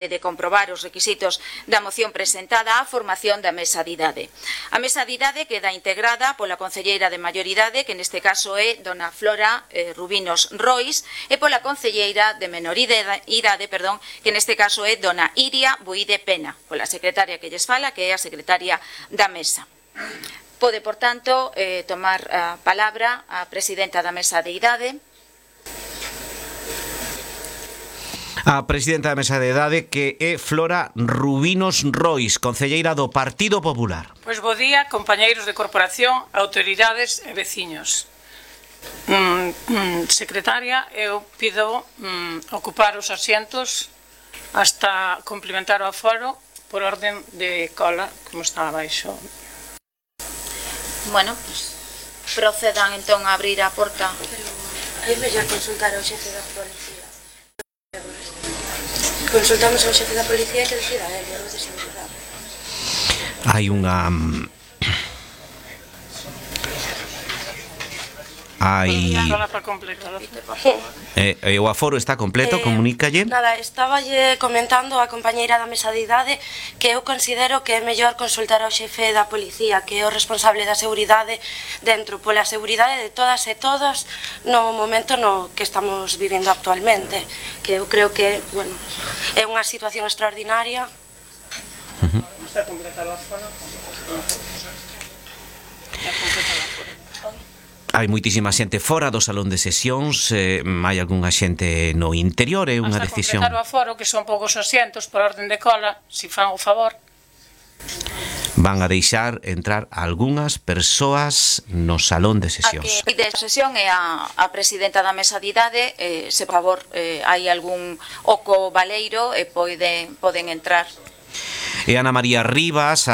de comprobar os requisitos da moción presentada á formación da mesa de idade. A mesa de idade queda integrada pola concelleira de maioridade, que neste caso é dona Flora Rubinos Rois, e pola concelleira de menoridade, que neste caso é dona Iria Buide Pena, pola secretaria que lles fala, que é a secretaria da mesa. Pode, por tanto, tomar a palabra a presidenta da mesa de idade. A presidenta da mesa de idade, que é Flora Rubinos Rois, concelleira do Partido Popular. Pois bo día, compañeiros de corporación, autoridades e veciños. Secretaria, eu pido ocupar os asientos hasta complementar o aforo por orden de cola, como está abaixo. Bueno, pues, procedan entón a abrir a porta. É mellor consultar ao xefe da policía. Consultamos ao xefe da policía que decida el de seguridade. Hai unha... o aforo está completo, comunícalle. Nada, estaba comentando a compañeira da mesa de idade que eu considero que é mellor consultar ao xefe da policía, que é o responsable da seguridade dentro, pola seguridade de todas e todos no momento no que estamos vivindo actualmente, que eu creo que, bueno, é unha situación extraordinaria. Está completado o aforo? Hai moitísima xente fora do salón de sesións, hai algunha xente no interior, é unha decisión. Hasta completar o aforo, que son poucos asientos por orden de cola, si fan o favor. Van a deixar entrar algunhas persoas no salón de sesións. A que de sesión é a presidenta da mesa de idade, se por favor hai algún oco baleiro e poden entrar. E Ana María Rivas,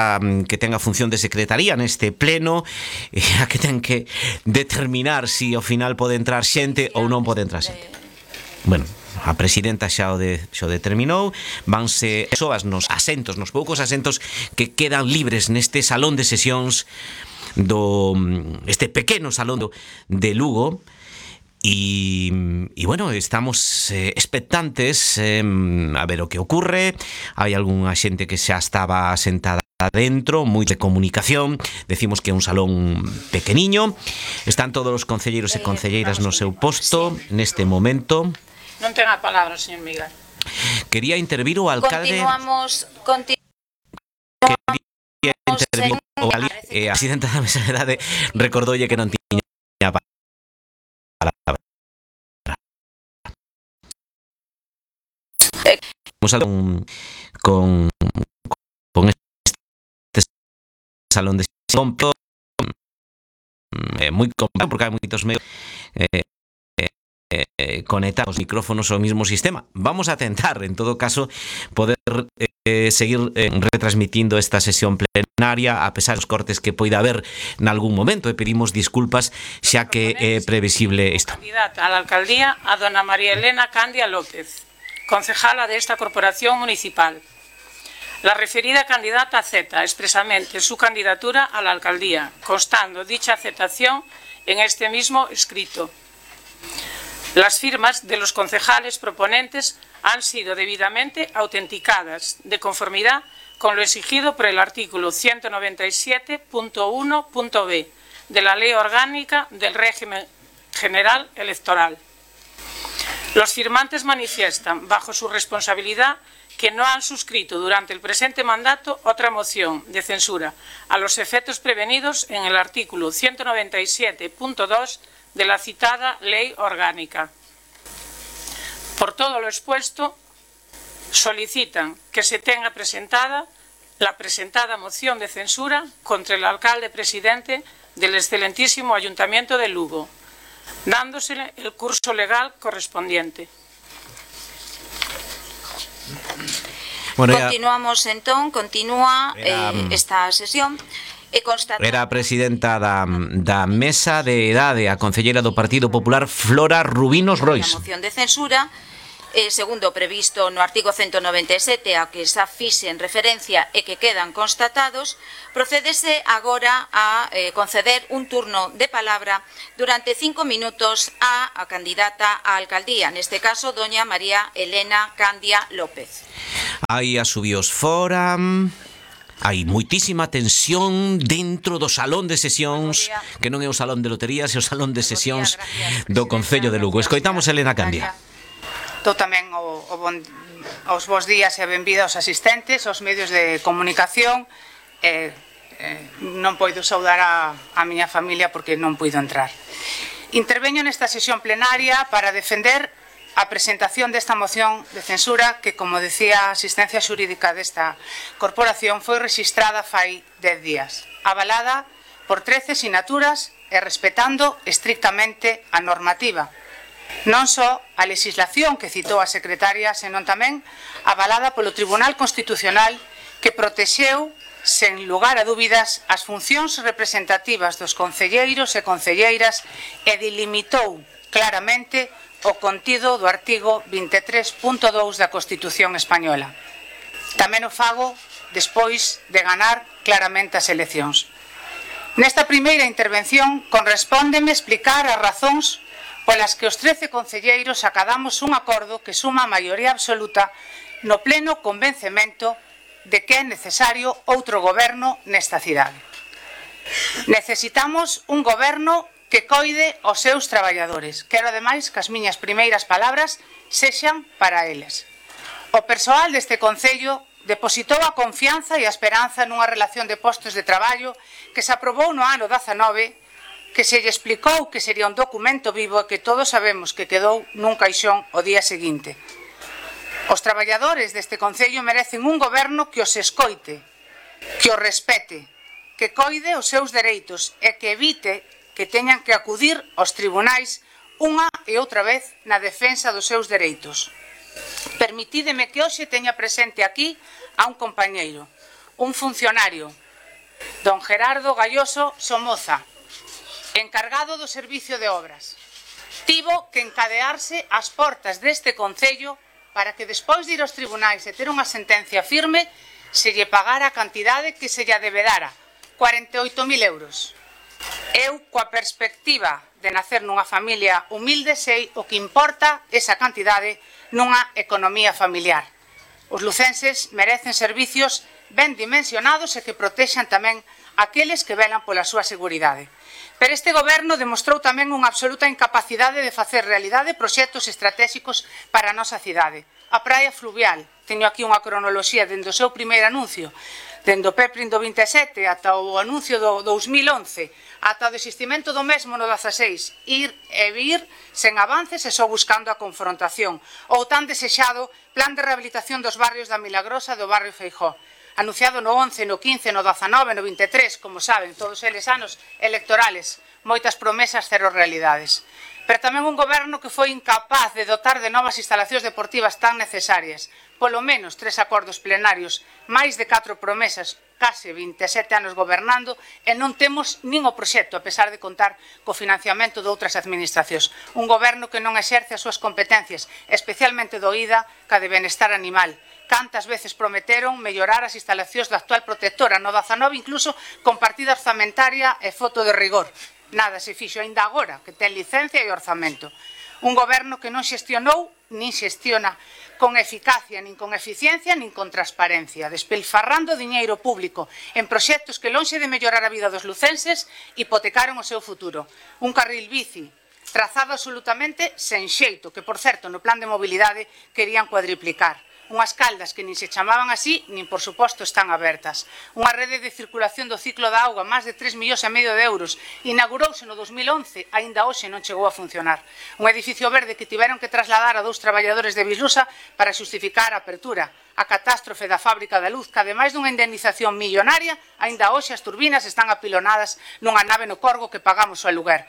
que ten a función de secretaría neste pleno, a que ten que determinar se ao final pode entrar xente ou non pode entrar xente. Bueno, a presidenta xa o determinou, vanse persoas nos asentos, nos poucos asentos que quedan libres neste salón de sesións este pequeno salón de Lugo. Y bueno, estamos expectantes a ver o que ocurre. Hai algunha xente que xa estaba sentada dentro, moi de comunicación. Decimos que é un salón pequeniño. Están todos os concelleiros e concelleiras no seu posto neste momento. Non ten a palabra, señor Miguel. Quería intervir o alcalde. Quería intervir o alcalde. A presidenta da mesa de idade recordoulle que non tiña palabra. Con este salón de sesión moi complicado porque hai moitos medios conectar os micrófonos ao mismo sistema. Vamos a tentar, en todo caso, poder seguir retransmitindo esta sesión plenaria a pesar dos cortes que poida haber nalgún momento, e pedimos disculpas xa que é previsible isto. Candidata a la alcaldía a dona María Elena Candia López, concejala de esta corporación municipal. La referida candidata acepta expresamente su candidatura a la alcaldía, constando dicha aceptación en este mismo escrito. Las firmas de los concejales proponentes han sido debidamente autenticadas, de conformidad con lo exigido por el artículo 197.1.b de la Ley Orgánica del Régimen General Electoral. Los firmantes manifiestan, bajo su responsabilidad, que no han suscrito durante el presente mandato otra moción de censura a los efectos prevenidos en el artículo 197.2 de la citada Ley Orgánica. Por todo lo expuesto, solicitan que se tenga presentada la presentada moción de censura contra el alcalde presidente del excelentísimo Ayuntamiento de Lugo, dándosele el curso legal correspondiente. Bueno, continuamos entón, continúa esta sesión. Era a presidenta da mesa de idade, a concelleira do Partido Popular, Flora Rubinos Rois. A moción de censura segundo previsto no artigo 197 ao que xa fixen referencia e que quedan constatados, procédese agora a conceder un turno de palabra durante 5 minutos á candidata á alcaldía, neste caso, doña María Elena Candia López. Hai asubios fora... Hai moitísima tensión dentro do salón de sesións, que non é o salón de loterías, é o salón de sesións do Concello de Lugo. Escoitamos a Elena Candia. Dou tamén os bons días e a benvida aos asistentes, aos medios de comunicación. Non poido saudar a miña familia porque non puido entrar. Interveño nesta sesión plenaria para defender a presentación desta moción de censura que, como decía a asistencia xurídica desta corporación, foi rexistrada fai 10 días, avalada por 13 sinaturas e respetando estrictamente a normativa. Non só a legislación que citou a secretaria, senón tamén avalada polo Tribunal Constitucional que protexeu, sen lugar a dúbidas, as funcións representativas dos concelleiros e concelleiras e delimitou claramente o contido do artigo 23.2 da Constitución española. Tamén o fago despois de ganar claramente as eleccións. Nesta primeira intervención correspóndeme explicar as razóns polas que os 13 concelleiros acadamos un acordo que suma a maioría absoluta no pleno convencemento de que é necesario outro goberno nesta cidade. Necesitamos un goberno que coide os seus traballadores. Quero, ademais, que as miñas primeiras palabras sexan para eles. O persoal deste Concello depositou a confianza e a esperanza nunha relación de postos de traballo que se aprobou no ano 19, que se lle explicou que sería un documento vivo e que todos sabemos que quedou nun caixón o día seguinte. Os traballadores deste Concello merecen un goberno que os escoite, que os respete, que coide os seus dereitos e que evite que teñan que acudir aos tribunais unha e outra vez na defensa dos seus dereitos. Permitídeme que hoxe teña presente aquí a un compañeiro, un funcionario, don Gerardo Galloso Somoza, encargado do Servicio de Obras. Tivo que encadearse ás portas deste Concello para que despois de ir aos tribunais e ter unha sentencia firme se lle pagara a cantidade que se lle debedara, 48.000 euros. Eu, coa perspectiva de nacer nunha familia humilde, sei o que importa esa cantidade nunha economía familiar. Os lucenses merecen servicios ben dimensionados e que protexan tamén aqueles que velan pola súa seguridade. Pero este goberno demostrou tamén unha absoluta incapacidade de facer realidade proxectos estratégicos para a nosa cidade. A praia fluvial, teño aquí unha cronoloxía dende o seu primeiro anuncio, dende o PEPRIN do 27 ata o anuncio do 2011, ata o desistimento do mesmo no 16, ir e vir sen avances e só buscando a confrontación, ou tan desexado plan de rehabilitación dos barrios da Milagrosa e do barrio Feijó, anunciado no 11, no 15, no 19, no 23, como saben, todos eles anos electorales, moitas promesas, cero realidades. Pero tamén un goberno que foi incapaz de dotar de novas instalacións deportivas tan necesarias, polo menos 3 acordos plenarios, máis de 4 promesas, case 27 anos gobernando, e non temos nin o proxecto, a pesar de contar co financiamento de outras administracións. Un goberno que non exerce as súas competencias, especialmente do IDA, ca de benestar animal. Cantas veces prometeron mellorar as instalacións da actual protectora, no 19 incluso con partida orzamentaria e foto de rigor. Nada se fixo aínda agora, que ten licencia e orzamento. Un goberno que non xestionou, nin xestiona con eficacia, nin con eficiencia, nin con transparencia, despilfarrando diñeiro público en proxectos que, lonxe de mellorar a vida dos lucenses, hipotecaron o seu futuro. Un carril bici trazado absolutamente sen xeito, que, por certo, no plan de mobilidade querían cuadriplicar. Unhas caldas que nin se chamaban así, nin por suposto están abertas. Unha rede de circulación do ciclo da auga, máis de 3,5 millóns de euros, inaugurouse no 2011, aínda hoxe non chegou a funcionar. Un edificio verde que tiveron que trasladar a 2 traballadores de Bislusa para xustificar a apertura. A catástrofe da fábrica da luz, que ademais dunha indemnización millonaria, aínda hoxe as turbinas están apilonadas nunha nave no Corgo que pagamos o aluguer.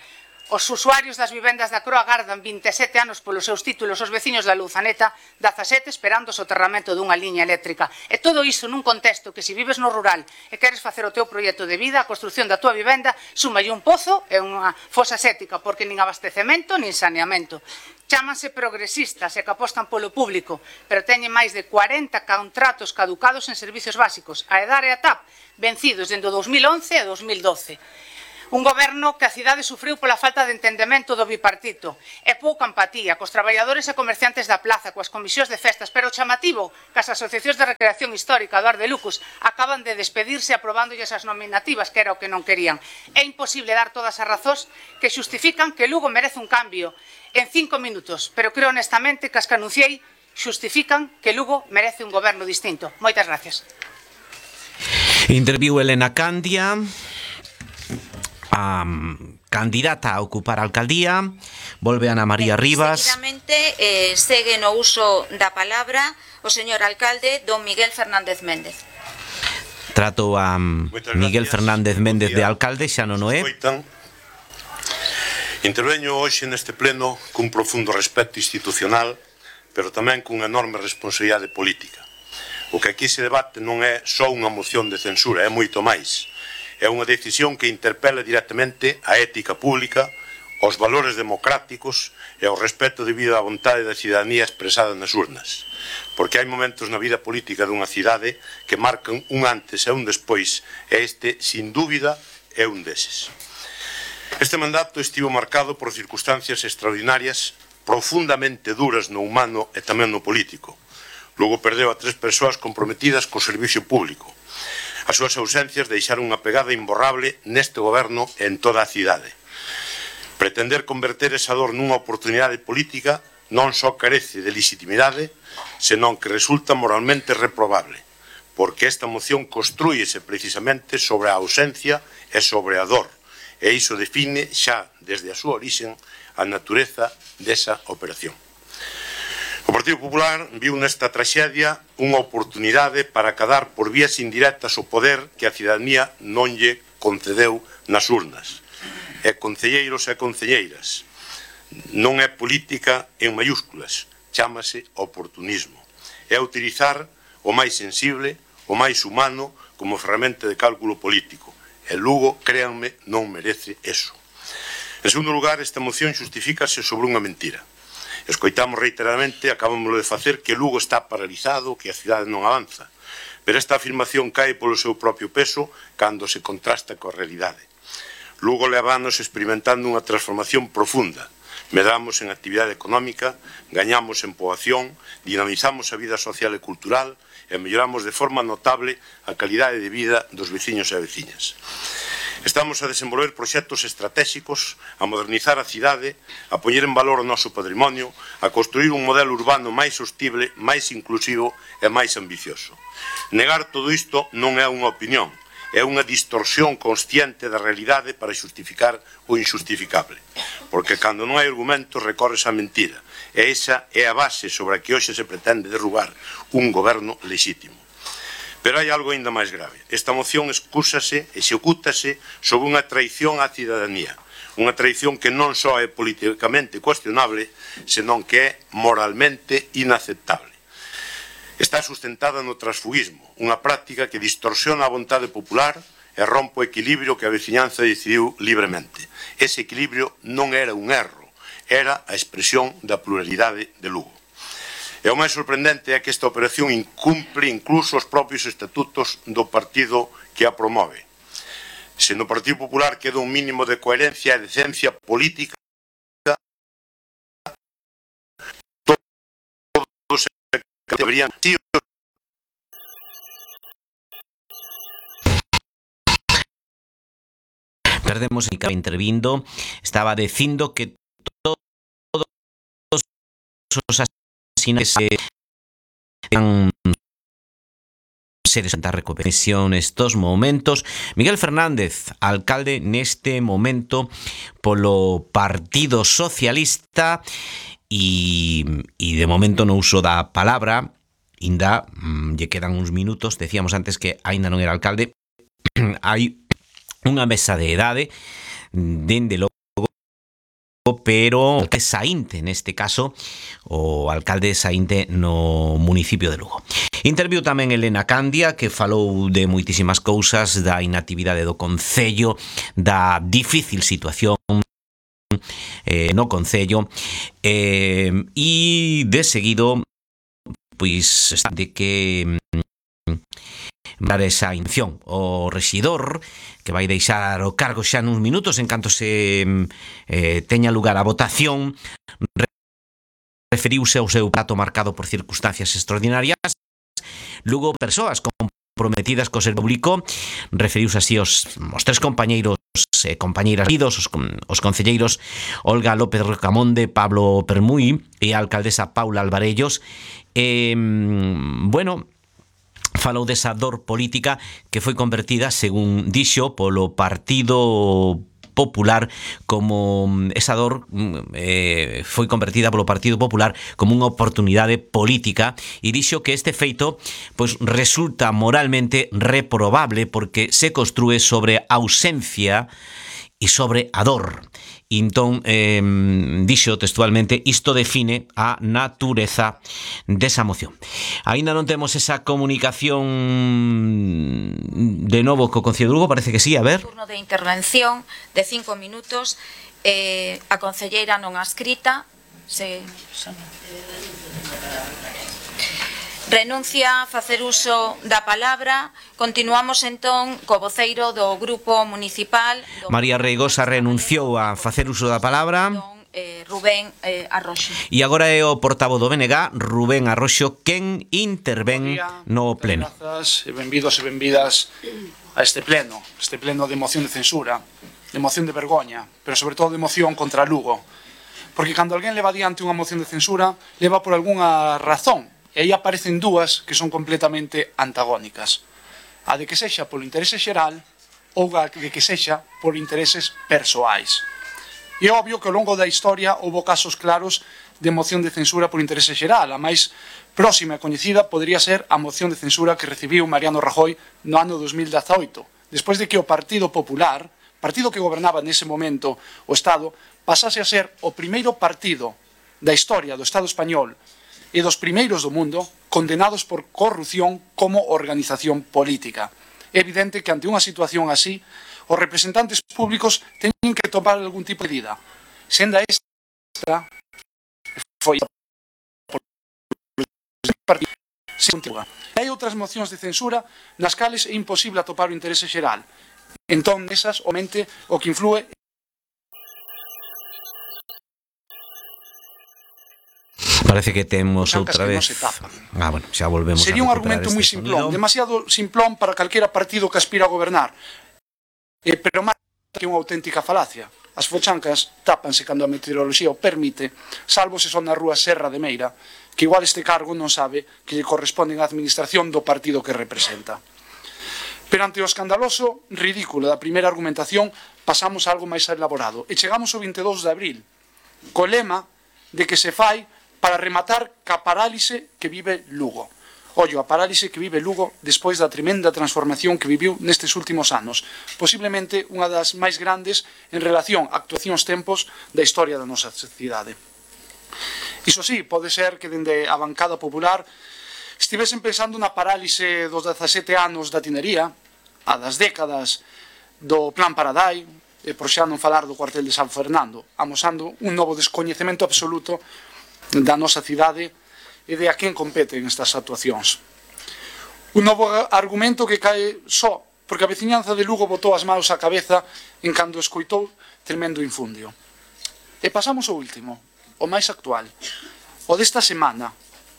Os usuarios das vivendas da Croa agardan 27 anos polos seus títulos, os veciños da Luzaneta 17 esperando o soterramento dunha liña eléctrica. E todo iso nun contexto que se vives no rural e queres facer o teu proxecto de vida, a construción da tua vivenda, súmalle un pozo e unha fosa séptica, porque nin abastecemento nin saneamento. Chámanse progresistas e que apostan polo público, pero teñen máis de 40 contratos caducados en servicios básicos, a EDAR e a TAP, vencidos dende o 2011 e 2012. Un goberno que a cidade sufriu pola falta de entendemento do bipartito e pouca empatía cos traballadores e comerciantes da plaza, coas comisións de festas, pero o chamativo que as asociacións de recreación histórica do Ar de Lucus acaban de despedirse aprobándolles as nominativas, que era o que non querían. É imposible dar todas as razóns que xustifican que Lugo merece un cambio en 5 minutos, pero creo honestamente que as que anunciei xustifican que Lugo merece un goberno distinto. Moitas gracias. Interviu Elena Candia, a candidata a ocupar a alcaldía. Volve Ana María Rivas. Seguidamente segue no uso da palabra o señor alcalde don Miguel Fernández Méndez. Trato a Miguel Fernández Méndez de alcalde, xa non o é. Interveño hoxe neste pleno cun profundo respeto institucional, pero tamén cunha enorme responsabilidade política. O que aquí se debate non é só unha moción de censura, é moito máis. É unha decisión que interpela directamente a ética pública, os valores democráticos e o respeto debido á vontade da cidadanía expresada nas urnas. Porque hai momentos na vida política dunha cidade que marcan un antes e un despois, e este, sin dúbida, é un deses. Este mandato estivo marcado por circunstancias extraordinarias, profundamente duras no humano e tamén no político. Lugo perdeu a 3 persoas comprometidas co servicio público. As súas ausencias deixaron unha pegada imborrable neste goberno e en toda a cidade. Pretender converter esa dor nunha oportunidade política non só carece de legitimidade, senón que resulta moralmente reprobable, porque esta moción construíese precisamente sobre a ausencia e sobre a dor, e iso define xa desde a súa orixen a natureza desa operación. O Partido Popular viu nesta traxedia unha oportunidade para acadar por vías indirectas o poder que a cidadanía non lle concedeu nas urnas. E concelleiros e concelleiras, non é política en mayúsculas, chámase oportunismo. É utilizar o máis sensible, o máis humano, como ferramenta de cálculo político. E Lugo, créanme, non merece eso. En segundo lugar, esta moción justifícase sobre unha mentira. Escoitamos reiteradamente, acabámoslo de facer, que Lugo está paralizado, que a cidade non avanza. Pero esta afirmación cae polo seu propio peso cando se contrasta coa realidade. Lugo leva anos experimentando unha transformación profunda. Medramos en actividade económica, gañamos en poboación, dinamizamos a vida social e cultural e melloramos de forma notable a calidade de vida dos veciños e veciñas. Estamos a desenvolver proxectos estratégicos, a modernizar a cidade, a poñer en valor o noso patrimonio, a construir un modelo urbano máis sostible, máis inclusivo e máis ambicioso. Negar todo isto non é unha opinión, é unha distorsión consciente da realidade para xustificar o injustificable. Porque cando non hai argumentos recorres a mentira, e esa é a base sobre a que hoxe se pretende derrubar un goberno lexítimo. Pero hai algo ainda máis grave. Esta moción excúsase, execútase sobre unha traición á cidadanía. Unha traición que non só é políticamente cuestionable, senón que é moralmente inaceptable. Está sustentada no transfugismo, unha práctica que distorsiona a vontade popular e rompe o equilibrio que a veciñanza decidiu libremente. Ese equilibrio non era un erro, era a expresión da pluralidade de Lugo. E o máis sorprendente é que esta operación incumpre incluso os propios estatutos do partido que a promove. Se no Partido Popular queda un mínimo de coherencia e decencia política, todos deberían ser. Perdemos el intervindo, estaba dicindo que todos os se desenta recuperación estos momentos. Miguel Fernández, alcalde neste momento polo Partido Socialista e de momento no uso da palabra, ainda lle quedan uns minutos, decíamos antes que aínda non era alcalde, hai unha mesa de idade, dende logo pero alcalde Saínte, neste caso, o alcalde Saínte no municipio de Lugo. Interviu tamén Elena Candia, que falou de moitísimas cousas, da inactividade do Concello, da difícil situación no Concello, e de seguido, pois, de que dar esa intención o rexidor, que vai deixar o cargo xa nuns minutos en canto se teña lugar a votación, referiuse ao seu plato marcado por circunstancias extraordinarias. Lugo, persoas comprometidas co servizo público, referiuse así aos tres compañeiros e compañeiras os concelleiros Olga López Rocamonde, Pablo Permuy e a alcaldesa Paula Alvarellos. Bueno, falou desa dor política que foi convertida, según dixo, polo Partido Popular como esa dor foi convertida polo Partido Popular como unha oportunidade política, e dixo que este feito pois resulta moralmente reprobable porque se construe sobre a ausencia e sobre a dor. E entón, dixo textualmente, isto define a natureza desa moción. Aínda non temos esa comunicación de novo co Concello de Lugo, parece que sí, a ver. Turno de intervención de 5 minutos, a concelleira non adscrita renuncia a facer uso da palabra. Continuamos entón co voceiro do Grupo Municipal. María Reigosa renunciou a facer uso da palabra. Rubén Arroxo. E agora é o portavoz do BNG, Rubén Arroxo, quen intervén no pleno. Grazas e benvidos e benvidas a este pleno de moción de censura, de moción de vergoña, pero sobre todo de moción contra Lugo. Porque cando alguén leva adiante unha moción de censura, leva por algunha razón. E aí aparecen dúas que son completamente antagónicas. A de que sexa polo interese xeral ou a de que sexa por intereses persoais. E é obvio que ao longo da historia houve casos claros de moción de censura por interese xeral. A máis próxima e coñecida podería ser a moción de censura que recibiu Mariano Rajoy no ano 2018, despois de que o Partido Popular, partido que gobernaba nese momento o Estado, pasase a ser o primeiro partido da historia do Estado español e dos primeiros do mundo condenados por corrupción como organización política. É evidente que ante unha situación así, os representantes públicos teñen que tomar algún tipo de medida. Senda esta foi por partido se continúa. Hai outras mocións de censura nas cales é imposible atopar o interese xeral. Entón, esas, omente, o que influe Parece que temos outra vez. Bueno, xa volvemos. Sería un argumento moi simplón, demasiado simplón para calquera partido que aspira a gobernar. Pero máis que unha auténtica falacia. As fochancas tápanse cando a meteoroloxía o permite, salvo se son na rúa Serra de Meira, que igual este cargo non sabe que lle corresponde á administración do partido que representa. Pero ante o escandaloso ridículo da primeira argumentación, pasamos a algo máis elaborado. E chegamos ao 22 de abril, co lema de que se fai para rematar ca parálise que vive Lugo. Ollo, a parálise que vive Lugo despois da tremenda transformación que viviu nestes últimos anos, posiblemente unha das máis grandes en relación a actuacións tempos da historia da nosa cidade. Iso sí, pode ser que dende a bancada popular estivesen pensando na parálise dos 17 anos da tinería, a das décadas do Plan Paradai, e por xa non falar do cuartel de San Fernando, amosando un novo descoñecemento absoluto da nosa cidade e de a quen competen estas actuacións. Un novo argumento que cae só porque a veciñanza de Lugo botou as manos á cabeza en cando escoitou tremendo infundio. E pasamos ao último, o máis actual, o desta semana,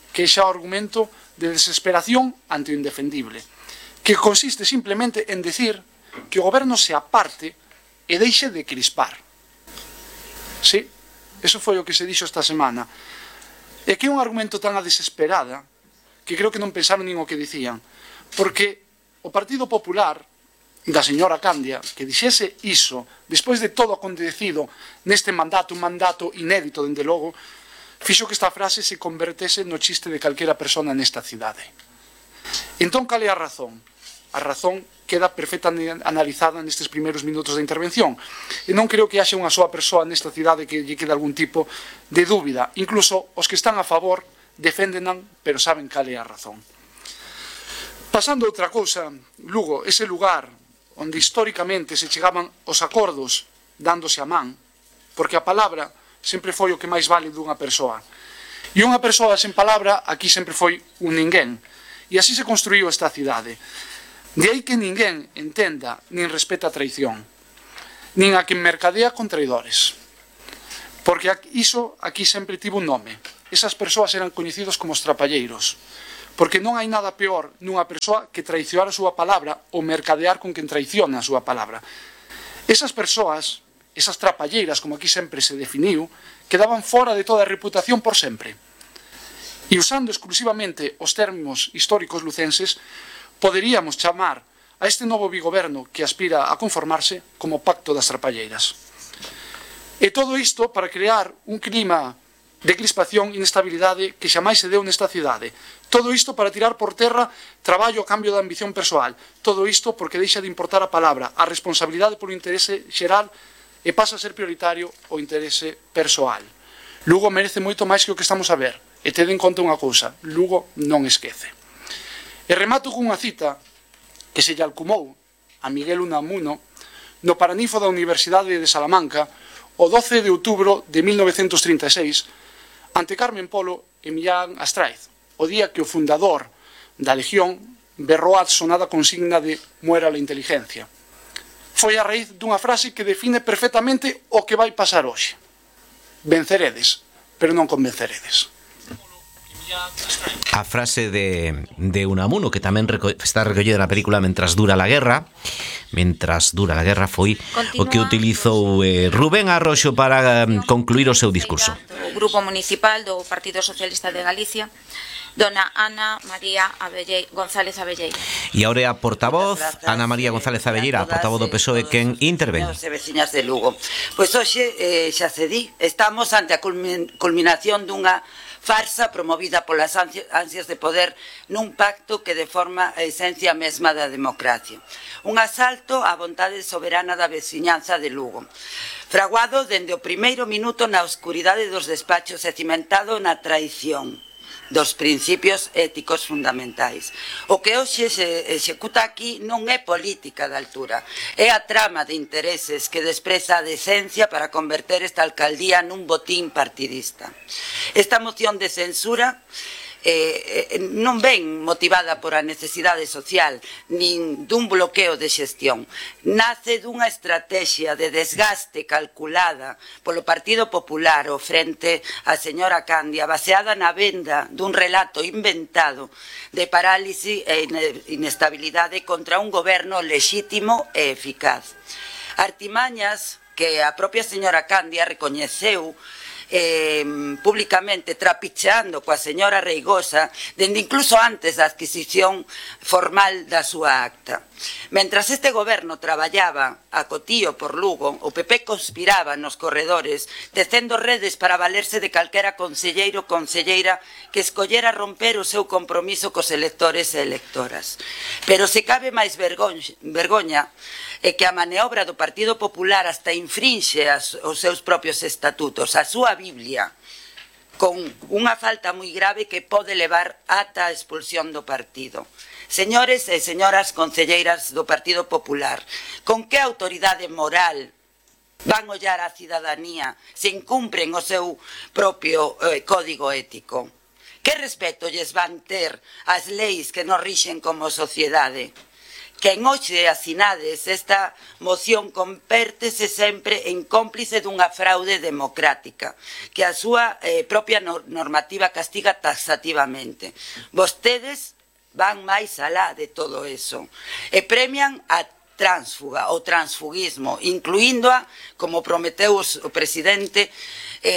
que é xa o argumento de desesperación ante o indefendible, que consiste simplemente en decir que o goberno se aparte e deixe de crispar. Sí, eso foi o que se dixo esta semana. E que é un argumento tan a desesperada que creo que non pensaron nin o que dicían, porque o Partido Popular da señora Candia que dixese iso despois de todo acontecido neste mandato, un mandato inédito dende logo, fixo que esta frase se convertese no chiste de calquera persona nesta cidade. Entón, cal é a razón? a razón queda perfectamente analizada nestes primeiros minutos da intervención. E non creo que haxa unha soa persoa nesta cidade que lle quede algún tipo de dúbida. Incluso os que están a favor deféndenan, pero saben cal é a razón. Pasando a outra cousa, Lugo, ese lugar onde históricamente se chegaban os acordos dándose a man, porque a palabra sempre foi o que máis vale dunha persoa. E unha persoa sen palabra aquí sempre foi un ninguén. E así se construiu esta cidade. De aí que ninguén entenda nin respeta a traición, nin a quen mercadea con traidores. Porque iso aquí sempre tivo un nome. Esas persoas eran coñecidos como os trapalleiros. Porque non hai nada peor nunha persoa que traicionar a súa palabra ou mercadear con quen traiciona a súa palabra. Esas persoas, esas trapalleiras, como aquí sempre se definiu, quedaban fora de toda a reputación por sempre. E usando exclusivamente os termos históricos lucenses, poderíamos chamar a este novo bigoberno que aspira a conformarse como Pacto das Trapalleiras. E todo isto para crear un clima de crispación e inestabilidade que xamais se deu nesta cidade. Todo isto para tirar por terra traballo a cambio da ambición persoal. Todo isto porque deixa de importar a palabra, a responsabilidade polo interese xeral e pasa a ser prioritario o interese persoal. Lugo merece moito máis que o que estamos a ver. E tede en conta unha cousa, Lugo non esquece. E remato cunha cita que se lle alcumou a Miguel Unamuno no Paraninfo da Universidade de Salamanca o 12 de outubro de 1936 ante Carmen Polo e Millán Astráiz, o día que o fundador da Legión berrou a sonada consigna de "muera la inteligencia". Foi a raíz dunha frase que define perfectamente o que vai pasar hoxe. Venceredes, pero non convenceredes. A frase de Unamuno, que tamén está recollida na película Mentras dura la guerra. Mentras dura la guerra foi o que utilizou Rubén Arroxo para concluir o seu discurso. O Grupo Municipal do Partido Socialista de Galicia, dona Ana María González Abelleira. E ahora a portavoz, Ana María González Abelleira, a portavoz do PSOE, quen intervén. E veciñas de Lugo. Pois hoxe xa se di, estamos ante a culminación dunha farsa promovida polas ansias de poder nun pacto que deforma a esencia mesma da democracia. Un asalto á vontade soberana da veciñanza de Lugo, fraguado dende o primeiro minuto na oscuridade dos despachos e cimentado na traición dos principios éticos fundamentais. O que hoxe se executa aquí non é política de altura, é a trama de intereses que despreza a decencia para converter esta alcaldía nun botín partidista. Esta moción de censura non ven motivada por a necesidade social nin dun bloqueo de xestión. Nace dunha estrategia de desgaste calculada polo Partido Popular ao frente a señora Candia, baseada na venda dun relato inventado de parálise e inestabilidade contra un goberno lexítimo e eficaz. Artimañas que a propia señora Candia recoñeceu públicamente, trapicheando coa señora Reigosa dende incluso antes da adquisición formal da súa acta. Mentras este goberno traballaba a cotío por Lugo, o PP conspiraba nos corredores, tecendo redes para valerse de calquera conselleiro ou conselleira que escollera romper o seu compromiso cos electores e electoras. Pero se cabe máis vergoña é que a maniobra do Partido Popular hasta infrinxe os seus propios estatutos, a súa Biblia, con unha falta moi grave que pode levar ata a expulsión do partido. Señores e señoras concelleiras do Partido Popular, con que autoridade moral van ollar á cidadanía se incumpren o seu propio código ético? Que respeto lles van ter as leis que nos rixen como sociedade? Que en hoxe asinades esta moción convértese sempre en cómplice dunha fraude democrática que a súa propia normativa castiga taxativamente. Vostedes van máis alá de todo eso e premian a tránsfuga, o transfugismo, incluíndoa, como prometeu o presidente,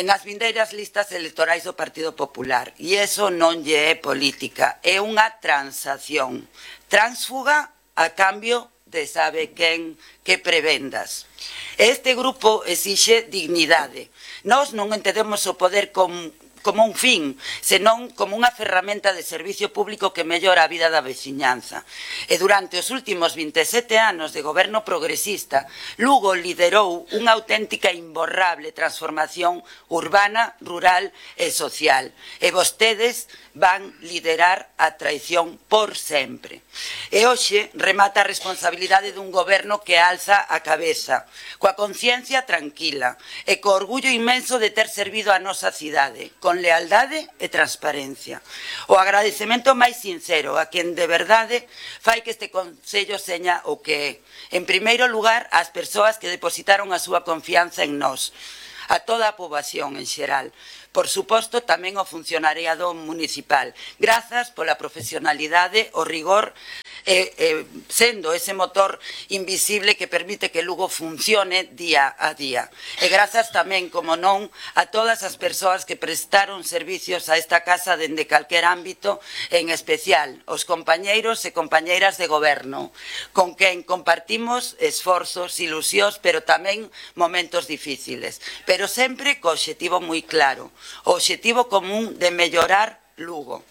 nas vindeiras listas electorais do Partido Popular. E eso non lle é política, é unha transacción. Tránsfuga a cambio de sabe quen que prebendas. Este grupo exixe dignidade. Nós non entendemos o poder como un fin, senón como unha ferramenta de servicio público que mellora a vida da veciñanza. E durante os últimos 27 anos de goberno progresista, Lugo liderou unha auténtica e imborrable transformación urbana, rural e social. E vostedes van liderar a traición por sempre. E hoxe remata a responsabilidade dun goberno que alza a cabeza, coa conciencia tranquila e co orgullo inmenso de ter servido a nosa cidade, con lealdade e transparencia. O agradecemento máis sincero a quen de verdade fai que este Concello seña o que é. En primeiro lugar, ás persoas que depositaron a súa confianza en nós, a toda a poboación en xeral. Por suposto, tamén o funcionariado municipal. Grazas pola profesionalidade, o rigor, sendo ese motor invisible que permite que Lugo funcione día a día. E grazas tamén, como non, a todas as persoas que prestaron servicios a esta casa dende calquer ámbito, en especial os compañeiros e compañeiras de goberno, con quen compartimos esforzos, ilusións, pero tamén momentos difíciles, pero sempre co obxectivo moi claro, o obxectivo común de mellorar Lugo.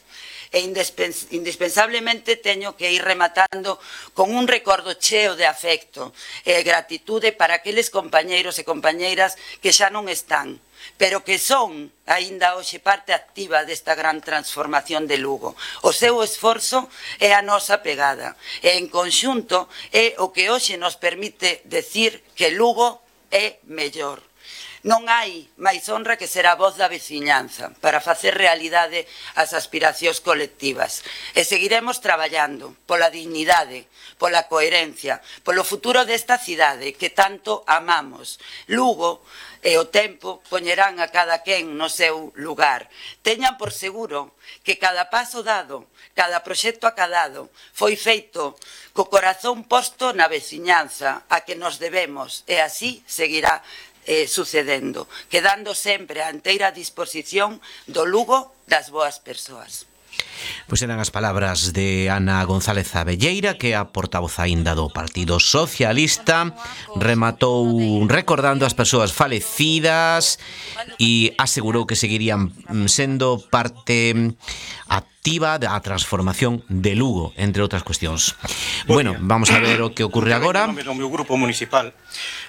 E indispensablemente teño que ir rematando con un recordo cheo de afecto e gratitude para aqueles compañeiros e compañeiras que xa non están, pero que son aínda hoxe parte activa desta gran transformación de Lugo. O seu esforzo é a nosa pegada e en conxunto é o que hoxe nos permite decir que Lugo é mellor. Non hai máis honra que ser a voz da veciñanza para facer realidade as aspiracións colectivas. E seguiremos traballando pola dignidade, pola coherencia, polo futuro desta cidade que tanto amamos. Lugo e o tempo poñerán a cada quen no seu lugar. Teñan por seguro que cada paso dado, cada proxecto acadado, foi feito co corazón posto na veciñanza a que nos debemos e así seguirá sucedendo, quedando sempre a inteira disposición do Lugo das boas persoas. Pois eran as palabras de Ana González Abelleira, que é a portavoz aínda do Partido Socialista. Rematou recordando as persoas falecidas e asegurou que seguirían sendo parte activa da transformación de Lugo, entre outras cuestións. Bueno, vamos a ver o que ocurre agora. En nome do meu grupo municipal,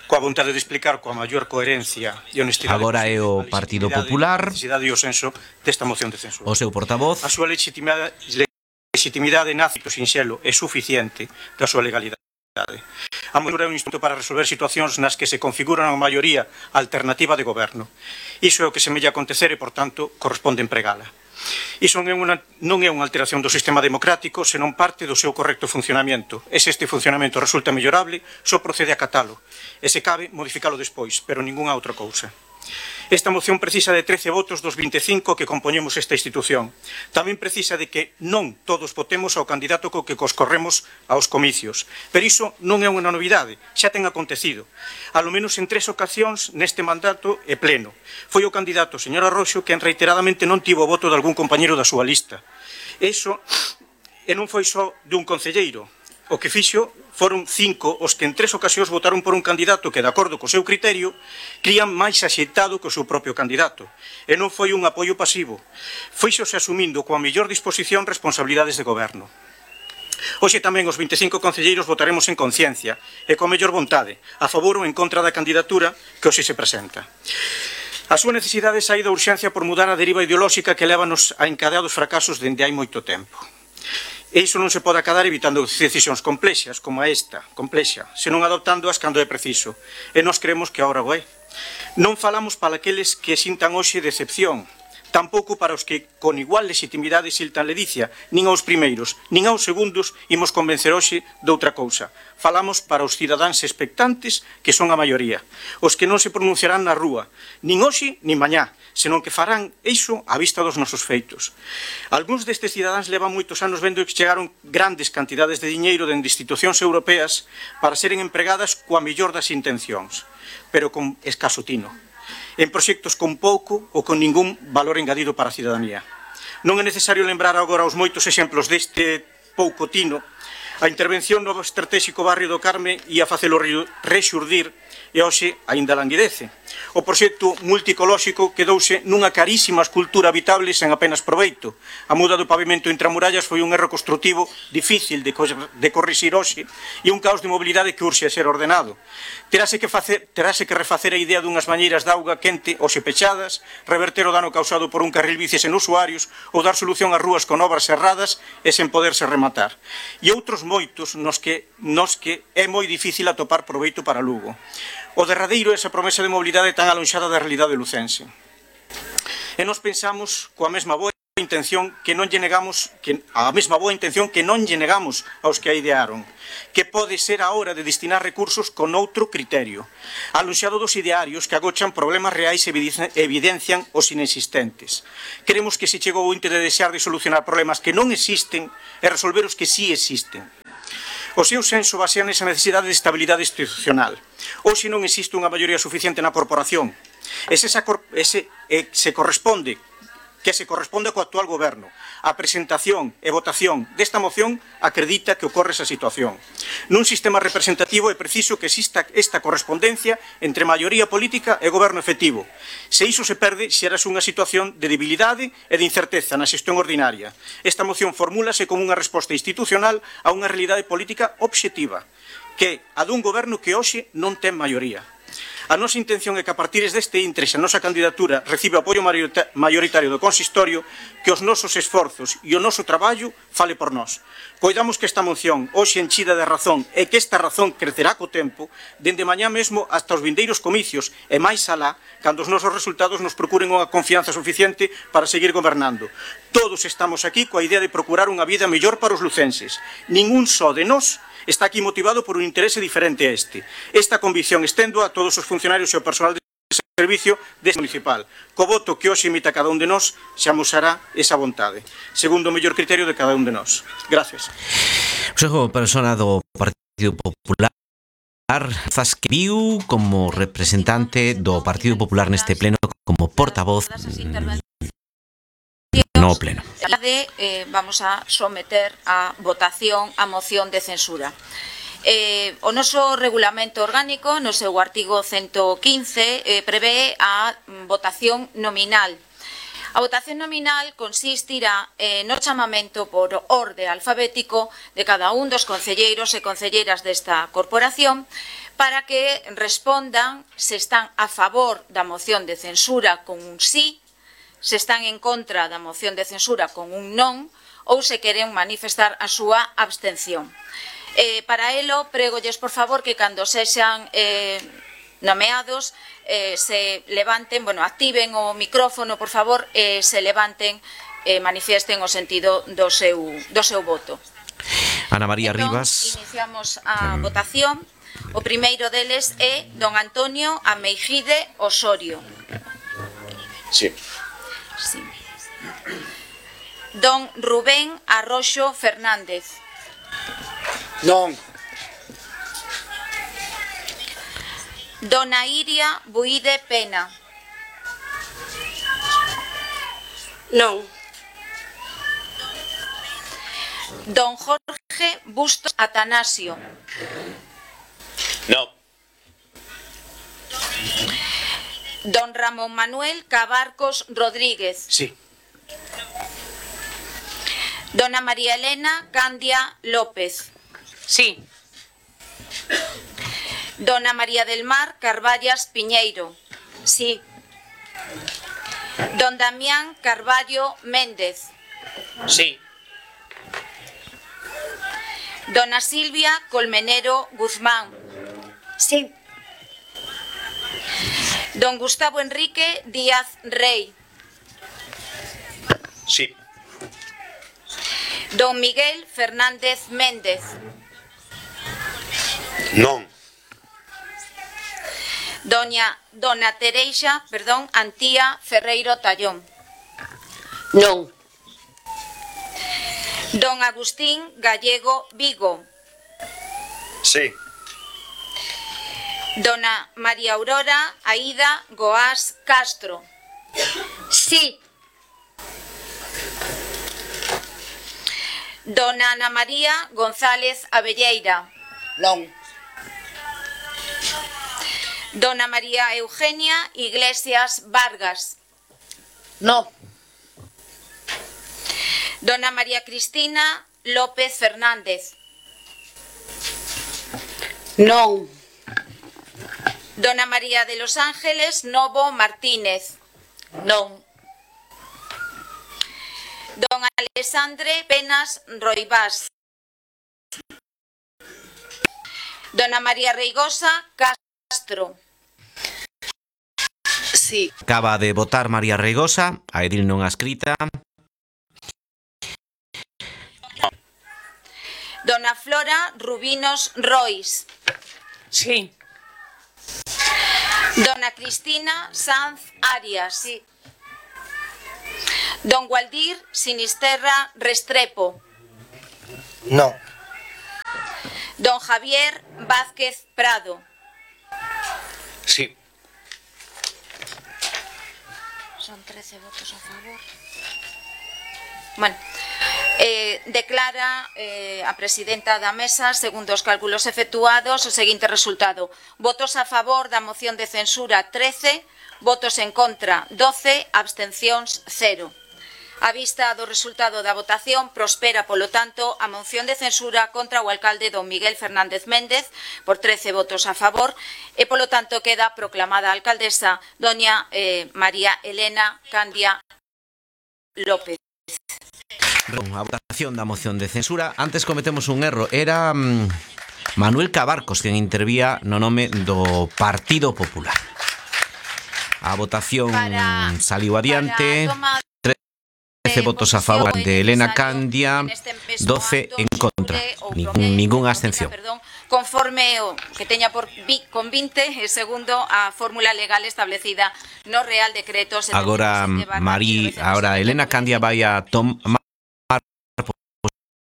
coa vontade de explicar coa maior coherencia e honestidade. Agora é o Partido Popular, a necesidade e o senso desta moción de censura. o seu portavoz. A súa legitimidade nace do sinxelo e suficiente da súa legalidade. A mesura é un instrumento para resolver situacións nas que se configura unha maioría alternativa de goberno. Iso é o que semella acontecer e, por tanto, corresponde empregala. Iso non é unha alteración do sistema democrático, senón parte do seu correcto funcionamento. E se este funcionamento resulta mellorable, só procede a catalo. E se cabe, modificalo despois, pero ningunha outra cousa. Esta moción precisa de 13 votos dos 25 que compoñemos esta institución. Tamén precisa de que non todos votemos ao candidato co que coscorremos aos comicios. Pero iso non é unha novidade, xa ten acontecido. A lo menos en 3 ocasións neste mandato e pleno. Foi o candidato, señor Arroxo, quen reiteradamente non tivo o voto de algún compañeiro da súa lista. Iso non foi só dun concelleiro. O que fixo foron 5 os que en 3 ocasións votaron por un candidato que, de acordo co seu criterio, crían máis axeitado que o seu propio candidato. E non foi un apoio pasivo. Fíxose asumindo coa mellor disposición responsabilidades de goberno. Hoxe tamén os 25 concelleiros votaremos en conciencia e coa mellor vontade, a favor ou en contra da candidatura que hoxe se presenta. A súa necesidade sae da urxencia por mudar a deriva ideolóxica que lévanos a encadeados fracasos dende hai moito tempo. E iso non se pode acadar evitando decisións complexas, como esta, complexa, senón adoptándoas cando é preciso. E nós creemos que agora o é. Non falamos para aqueles que sintan hoxe decepción, tampouco para os que con igual legitimidade siltan ledicia, nin aos primeiros, nin aos segundos imos convencer hoxe de outra cousa. Falamos para os cidadáns expectantes, que son a maioría, os que non se pronunciarán na rúa, nin hoxe nin mañá, senón que farán iso á vista dos nosos feitos. Algúns destes cidadáns levan moitos anos vendo que chegaron grandes cantidades de diñeiro dende institucións europeas para seren empregadas coa mellor das intencións, pero con escaso tino, en proxectos con pouco ou con ningún valor engadido para a cidadanía. Non é necesario lembrar agora os moitos exemplos deste pouco tino. A intervención no estratégico barrio do Carme ia facelo rexurdir e hoxe aínda languidece. O proxecto multicolóxico quedouse nunha carísima escultura habitable sen apenas proveito. A muda do pavimento intramurallas foi un erro construtivo difícil de corrixir hoxe e un caos de mobilidade que urxe a ser ordenado. Terase que refacer a idea dunhas bañeiras de auga quente hoxe pechadas, reverter o dano causado por un carril bici sen usuarios ou dar solución ás rúas con obras cerradas e sen poderse rematar. E outros moitos nos que é moi difícil atopar proveito para Lugo. O derradeiro é esa promesa de mobilidade tan alonxada da realidade lucense. E nos pensamos coa mesma boa intención que non lle negamos aos que a idearon, que pode ser a hora de destinar recursos con outro criterio, alonxado dos idearios que agochan problemas reais e evidencian os inexistentes. Queremos que se chegou o inte de desear de solucionar problemas que non existen e resolver os que sí existen. O seu senso basea nesa necesidade de estabilidade institucional. Hoxe non existe unha maioría suficiente na corporación. Que se corresponde co actual goberno. A presentación e votación desta moción acredita que ocorre esa situación. Nun sistema representativo é preciso que exista esta correspondencia entre maioría política e goberno efectivo. Se iso se perde, xerase unha situación de debilidade e de incerteza na xestión ordinaria. Esta moción formúlase como unha resposta institucional a unha realidade política obxectiva, que é a dun goberno que hoxe non ten maioría. A nosa intención é que a partir deste intre a nosa candidatura recibe apoio maioritario do consistorio, que os nosos esforzos e o noso traballo fale por nós. Coidamos que esta moción, hoxe enchida de razón, e que esta razón crecerá co tempo, dende mañá mesmo hasta os vindeiros comicios, e máis alá, cando os nosos resultados nos procuren unha confianza suficiente para seguir gobernando. Todos estamos aquí coa idea de procurar unha vida mellor para os lucenses. Ningún só de nós está aquí motivado por un interese diferente a este. Esta convicción estendo a todos os funcionarios e o personal de servicio deste municipal. Co voto que hoxe emita cada un de nós, se amosará esa vontade, segundo o mellor criterio de cada un de nós. Gracias. Consejo persona do Partido Popular, que viu como representante do Partido Popular neste pleno, como portavoz no pleno. Vamos a someter a votación a moción de censura. O noso regulamento orgánico, no seu artigo 115, prevé a votación nominal. A votación nominal consistirá no chamamento por orde alfabético de cada un dos concelleiros e concelleiras desta corporación para que respondan se están a favor da moción de censura con un sí, se están en contra da moción de censura con un non ou se queren manifestar a súa abstención. Para elo, pregolles, por favor, que cando sexan nomeados se levanten, activen o micrófono, por favor, se levanten e manifiesten o sentido do seu voto. Ana María Rivas. Iniciamos a votación. O primeiro deles é don Antonio Ameijide Osorio. Sí. Sí. Don Rubén Arroxo Fernández. Non. Dona Iria Buide Pena. Non. Don Jorge Bustos Atanasio. No. Don Ramón Manuel Cabarcos Rodríguez. Sí. Dona María Elena Candia López. Sí. Dona María del Mar Carballas Piñeiro. Sí. Don Damián Carballo Méndez. Sí. Dona Silvia Colmenero Guzmán. Sí. Don Gustavo Enrique Díaz Rey. Sí. Don Miguel Fernández Méndez. Non. Dona Tereixa, Antía Ferreiro Tallón. Non. Don Agustín Gallego Vigo. Sí. Dona María Aurora Aida Goás Castro. Sí. Dona Ana María González Abelleira. Non. Dona María Eugenia Iglesias Vargas. No. Dona María Cristina López Fernández. Non. Dona María de los Ángeles Novo Martínez. Non. Don Alexandre Penas Roibás. Dona María Reigosa Castro. Sí. Acaba de votar María Reigosa, a Edil non a escrita. Dona Flora Rubinos Rois. Sí. Dona Cristina Sanz Arias. Sí. Don Gualdir Sinisterra Restrepo. No. Don Javier Vázquez Prado. Sí. Son 13 votos a favor. Bueno, declara a presidenta da mesa, segundo os cálculos efectuados, o seguinte resultado. Votos a favor da moción de censura 13, votos en contra 12, abstencións 0. A vista do resultado da votación, prospera, polo tanto, a moción de censura contra o alcalde don Miguel Fernández Méndez por 13 votos a favor e, polo tanto, queda proclamada a alcaldesa doña María Elena Candia López. A votación da moción de censura. Antes cometemos un erro. Era Manuel Cabarcos quen intervía no nome do Partido Popular. A votación saliu adiante. 13 votos a favor de Elena Candia, 12 en contra, ninguna abstención. Conforme o que teña con 20, segundo a fórmula legal establecida no Real Decreto 77/1997. Agora Elena Candia vai a tomar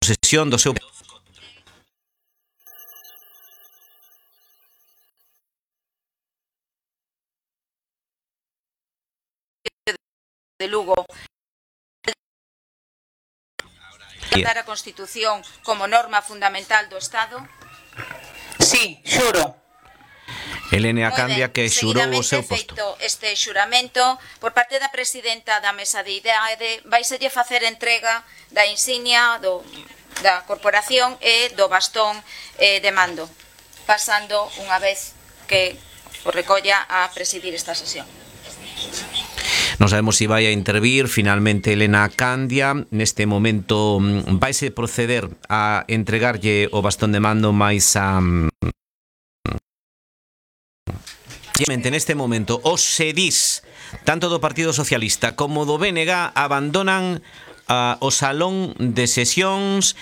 posesión do seu de Lugo. Dar a Constitución como norma fundamental do Estado? Sí, xuro. Elena Candia que xurou o seu posto. Feito este xuramento, por parte da presidenta da mesa de idade, vaiselle facer entrega da insignia da corporación e do bastón de mando, pasando unha vez que o recolla a presidir esta sesión. Non sabemos se vai a intervir finalmente Elena Candia. Neste momento vaise proceder a entregarlle o bastón de mando máis a... Neste momento os sedís tanto do Partido Socialista como do BNG abandonan o salón de sesións.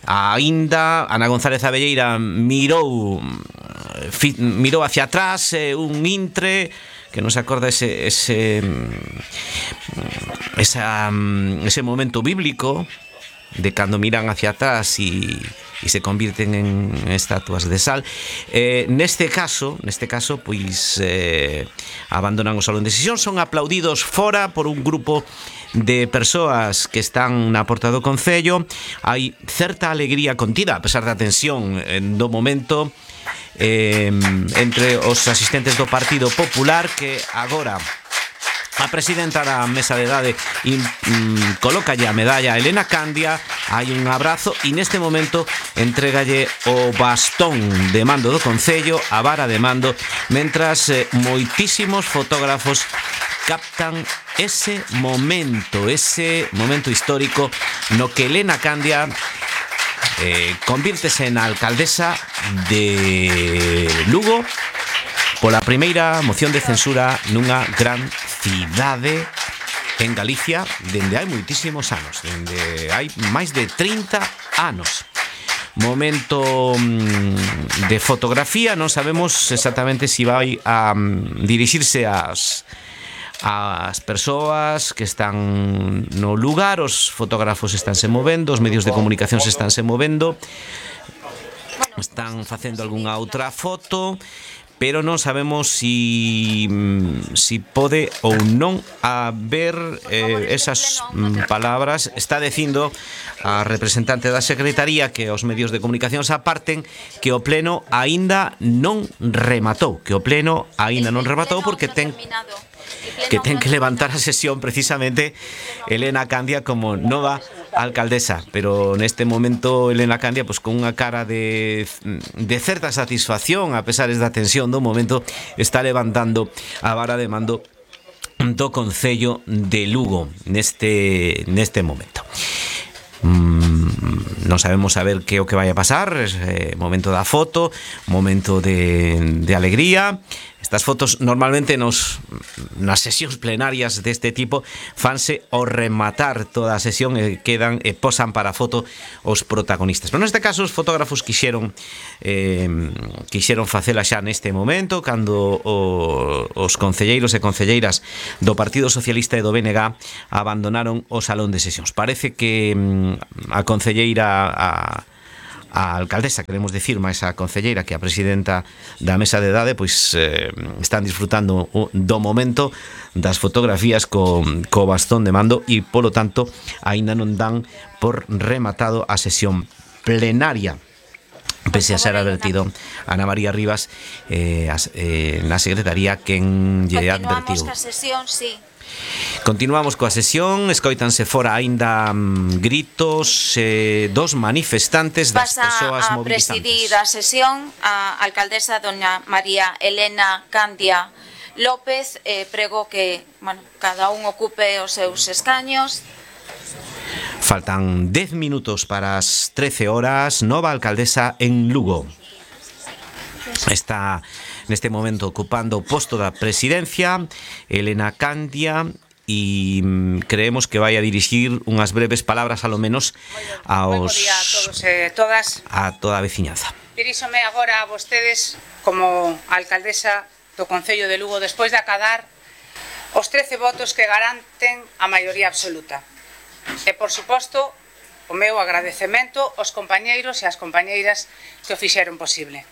Aínda Ana González Abelleira mirou hacia atrás, un intre que non se acorda ese momento bíblico de cando miran hacia atrás e se convirten en estatuas de sal. Neste caso, pois abandonan o salón de sesión, son aplaudidos fora por un grupo de persoas que están na porta do Concello. Hai certa alegría contida, a pesar da tensión do momento, entre os asistentes do Partido Popular, que agora a presidenta da mesa de idade colócalle a medalla a Elena Candia, hai un abrazo e neste momento entregalle o bastón de mando do Concello, a vara de mando, mentras moitísimos fotógrafos captan ese momento histórico no que Elena Candia convírtese na alcaldesa de Lugo pola primeira moción de censura nunha gran cidade en Galicia dende hai moitísimos anos, dende hai máis de 30 anos. Momento de fotografía, non sabemos exactamente se vai a dirixirse ás persoas que están no lugar. Os fotógrafos estánse movendo, os medios de comunicación estánse movendo, están facendo algunha outra foto, pero non sabemos si pode ou non haber esas palabras. Está dicindo a representante da Secretaría que os medios de comunicación se aparten, que o pleno aínda non rematou, porque ten que levantar a sesión precisamente Elena Candia como nova alcaldesa, pero neste momento Elena Candia pues con unha cara de certa satisfacción a pesar da tensión do momento, está levantando a vara de mando do Concello de Lugo neste momento. Non sabemos a ver que é o que vai a pasar. Momento da foto, momento de alegría. Estas fotos normalmente nas sesións plenarias deste tipo fanse ao rematar toda a sesión e quedan e posan para a foto os protagonistas. Pero neste caso os fotógrafos quixeron facela xa neste momento, cando os concelleiros e concelleiras do Partido Socialista e do BNG abandonaron o salón de sesións. Parece que a concelleira a alcaldesa, queremos dicir, máis a concelleira que a presidenta da mesa de idade, pois están disfrutando do momento das fotografías co bastón de mando e, polo tanto, aínda non dan por rematado a sesión plenaria. Pese a ser advertido Ana María Rivas na Secretaría quen lle advertiu. Continuamos ca sesión, sí. Continuamos coa sesión, escoítanse fora aínda gritos dos manifestantes das persoas mobilizantes. Pasa a presidir a sesión a alcaldesa doña María Elena Candia López. Prego que cada un ocupe os seus escaños. Faltan 10 minutos para as 13 horas, nova alcaldesa en Lugo. Está neste momento ocupando o posto da presidencia Elena Candia e creemos que vai a dirixir unhas breves palabras alo menos Moi bo día a todos e todas. A toda a veciñanza. Diríxome agora a vostedes como alcaldesa do Concello de Lugo despois de acadar os 13 votos que garanten a maioría absoluta. E, por suposto, o meu agradecemento aos compañeiros e ás compañeiras que o fixeron posible.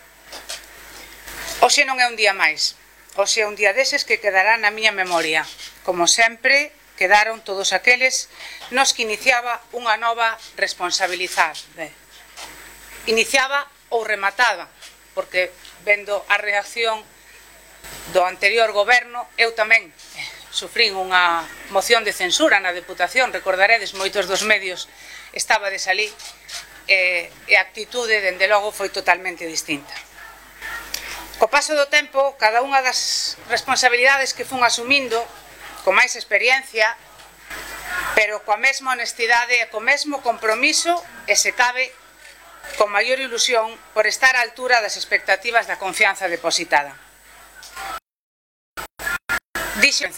Hoxe non é un día máis. Hoxe é un día deses que quedará na miña memoria. Como sempre, quedaron todos aqueles nos que iniciaba unha nova responsabilidade. Iniciaba ou remataba, porque vendo a reacción do anterior goberno, eu tamén sufrín unha moción de censura na Deputación, recordaredes, moitos dos medios estabades ali, e a actitude, dende logo, foi totalmente distinta. Co paso do tempo, cada unha das responsabilidades que fun asumindo, con máis experiencia, pero coa mesma honestidade e co mesmo compromiso, e se cabe, con maior ilusión, por estar á altura das expectativas da confianza depositada. Dixen,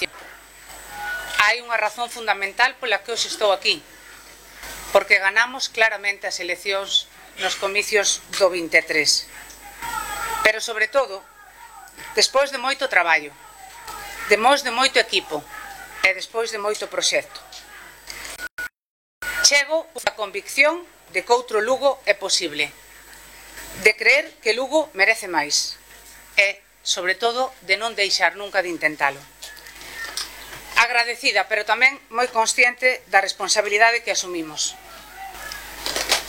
hai unha razón fundamental pola que hoxe estou aquí, porque ganamos claramente as eleccións nos comicios do 23. Pero, sobre todo, despois de moito traballo, despois de moito equipo e despois de moito proxecto. Chego a convicción de que outro Lugo é posible, de creer que Lugo merece máis e, sobre todo, de non deixar nunca de intentalo. Agradecida, pero tamén moi consciente da responsabilidade que asumimos.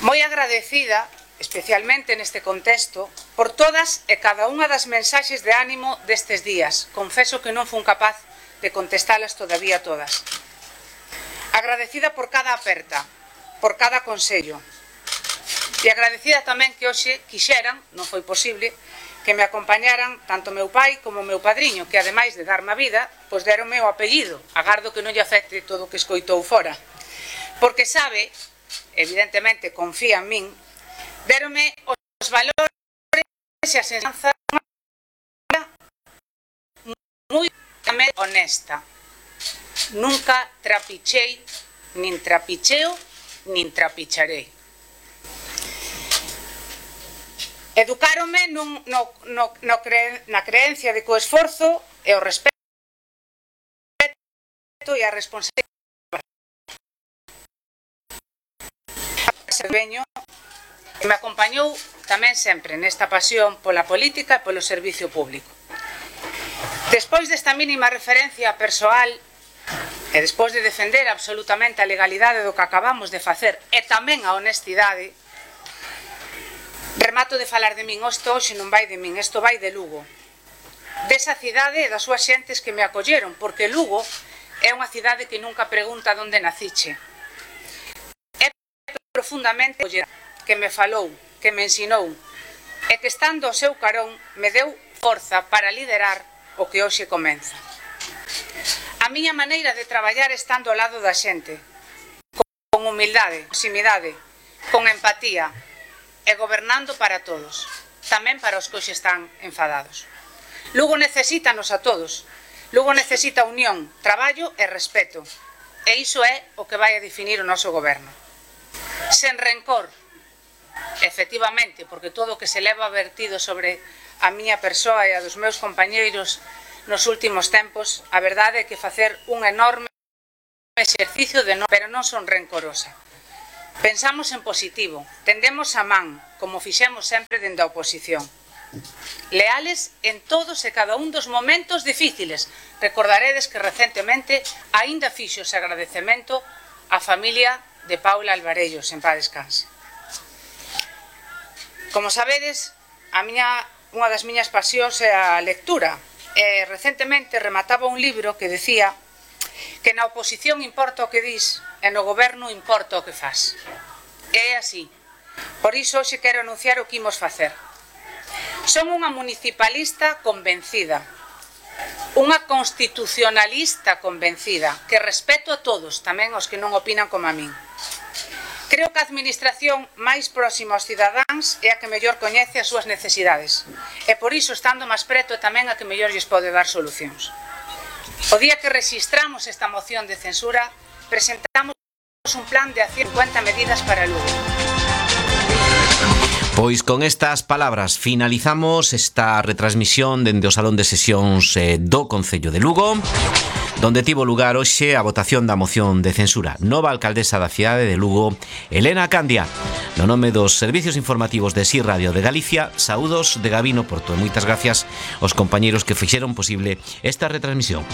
Moi agradecida, especialmente neste contexto, por todas e cada unha das mensaxes de ánimo destes días. Confeso que non fun capaz de contestalas todavía todas. Agradecida por cada aperta, por cada consello. E agradecida tamén que hoxe quixeran, non foi posible, que me acompañaran tanto meu pai como meu padriño, que ademais de darme a vida, pois deronme o apellido. Agardo que non lle afecte todo o que escoitou fora. Porque sabe, evidentemente confía en min, deronme os valores e a enseñanza moi honesta. Nunca trapichei, nin trapicheo, nin trapicharei. Educáronme na creencia de que o esforzo e o respeto e a responsabilidade veño que me acompañou tamén sempre nesta pasión pola política e polo servicio público. Despois desta mínima referencia persoal e despois de defender absolutamente a legalidade do que acabamos de facer e tamén a honestidade, remato de falar de min. Isto hoxe non vai de min, isto vai de Lugo, desa cidade e das súas xentes que me acolleron, porque Lugo é unha cidade que nunca pregunta onde naciche. É profundamente que me falou, que me ensinou e que estando ao seu carón me deu forza para liderar o que hoxe comeza. A miña maneira de traballar estando ao lado da xente, con humildade, proximidade, con empatía e gobernando para todos, tamén para os que hoxe están enfadados. Lugo necesítanos a todos. Lugo necesita unión, traballo e respeto. E iso é o que vai a definir o noso goberno. Sen rencor, efectivamente, porque todo o que se leva vertido sobre a miña persoa e a dos meus compañeiros nos últimos tempos, a verdade é que facer un enorme exercicio de non, pero non son rencorosa. Pensamos en positivo, tendemos a man, como fixemos sempre dende a oposición. Leales en todos e cada un dos momentos difíciles. Recordaredes que recentemente aínda fixo ese agradecemento á familia de Paula Alvarellos, en paz descanse. Como sabedes, unha das miñas pasións é a lectura. E recentemente remataba un libro que decía que na oposición importa o que dis e no goberno importa o que faz. E é así. Por iso hoxe quero anunciar o que imos facer. Son unha municipalista convencida, unha constitucionalista convencida, que respeto a todos, tamén aos que non opinan como a min. Creo que a administración máis próxima aos cidadáns é a que mellor coñece as súas necesidades. E por iso, estando máis preto, é tamén a que mellor lles pode dar solucións. O día que rexistramos esta moción de censura, presentamos un plan de acción 50 medidas para Lugo. Pois con estas palabras finalizamos esta retransmisión dende o Salón de Sesións do Concello de Lugo, donde tivo lugar hoxe a votación da moción de censura. Nova alcaldesa da cidade de Lugo, Elena Candia. No nome dos servicios informativos de SI Radio de Galicia, saúdos de Gabino Porto e moitas gracias aos compañeiros que fixeron posible esta retransmisión.